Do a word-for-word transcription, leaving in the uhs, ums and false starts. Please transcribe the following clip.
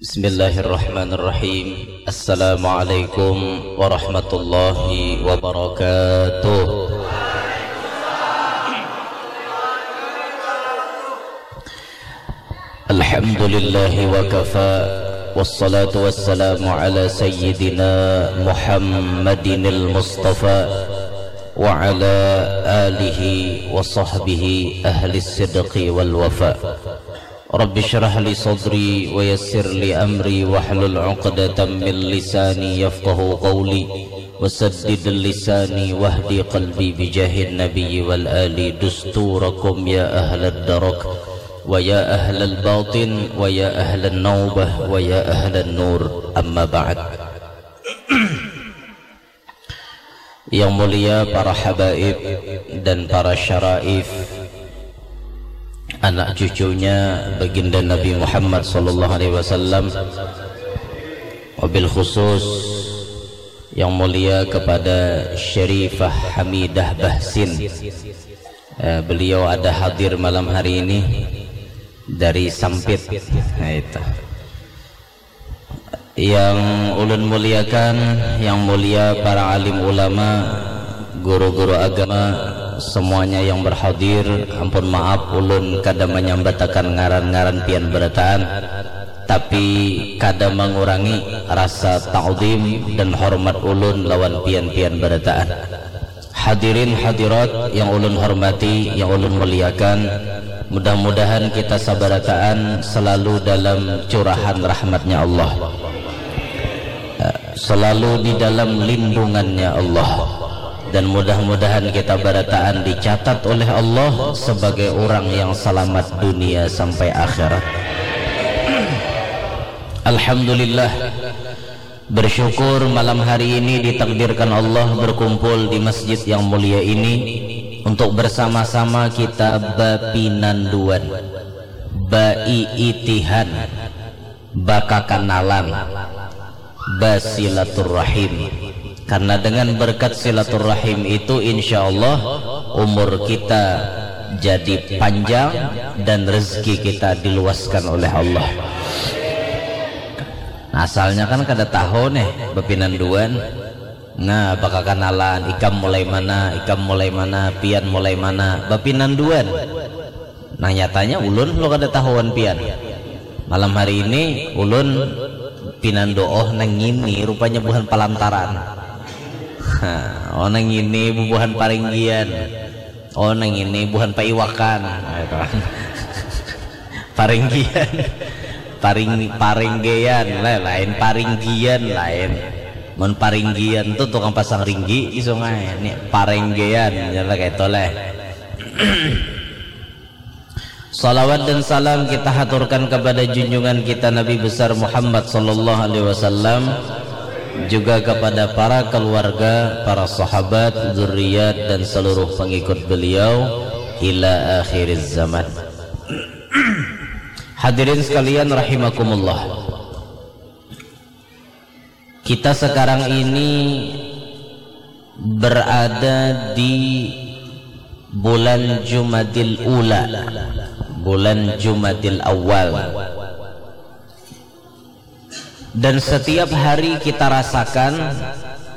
Bismillahirrahmanirrahim. Assalamualaikum warahmatullahi wabarakatuh. Alhamdulillahi wa kafa, wassalatu wassalamu ala sayyidina Muhammadinil Mustafa wa ala alihi wa sahbihi ahli sidqi wal wafa. Rabbi syrah li sadri wa yassir li amri wahlul uqdatam min lisani yafqahu qawli wa saddid lisani wahdi qalbi bijahin nabiyyi wal ali dusturakum ya ahlad darak wa ya ahlal batin wa ya ahlan naubah wa ya ahlan nur, amma ba'd. Yang mulia para habaib dan para syaraif, anak cucunya baginda Nabi Muhammad sallallahu alaihi wasallam, wabil khusus yang mulia kepada Syarifah Hamidah Bahsin. Eh, beliau ada hadir malam hari ini dari Sampit. Nah, itu. Yang ulun muliakan, yang mulia para alim ulama, guru-guru agama, semuanya yang berhadir, ampun maaf ulun kada manyambatakan ngaran-ngaran pian berataan, tapi kada mangurangi rasa ta'zim dan hormat ulun lawan pian-pian berataan. Hadirin hadirat yang ulun hormati, yang ulun muliakan, mudah-mudahan kita sabarataan selalu dalam curahan rahmatnya Allah, selalu di dalam lindungannya Allah, dan mudah-mudahan kita barataan dicatat oleh Allah sebagai orang yang selamat dunia sampai akhirat. Alhamdulillah, bersyukur malam hari ini ditakdirkan Allah berkumpul di masjid yang mulia ini untuk bersama-sama kita bapinanduan, baiitihan, bakakanalan, basilaturrahim. Karena dengan berkat silaturrahim itu, insya Allah umur kita jadi panjang dan rezeki kita diluaskan oleh Allah. Asalnya kan kada tahu nih bapinanduan. Nah, bakakanalan, ikam mulai mana, ikam mulai mana, pian mulai mana, bapinanduan. Nah, nyatanya ulun lo kada tahuan pian. Malam hari ini ulun pinandu, oh nang ini rupanya buhan palantaran. Ha, oh nang ini bubuhan paringgian. Oh nang ini buhan paiwakan. Nah, itu. Paringgian. Paring paringgian lah, lain paringgian lain. Mun paringgian tuh tukang pasang ringgi di sungai. Ini paringgian, ya lah kayak itu lah. Salawat dan salam kita haturkan kepada junjungan kita Nabi besar Muhammad sallallahu alaihi wasallam, juga kepada para keluarga, para sahabat, zuriat, dan seluruh pengikut beliau ila akhiriz zaman. Hadirin sekalian rahimakumullah. Kita sekarang ini berada di bulan Jumadil Ula, bulan Jumadil Awal. Dan setiap hari kita rasakan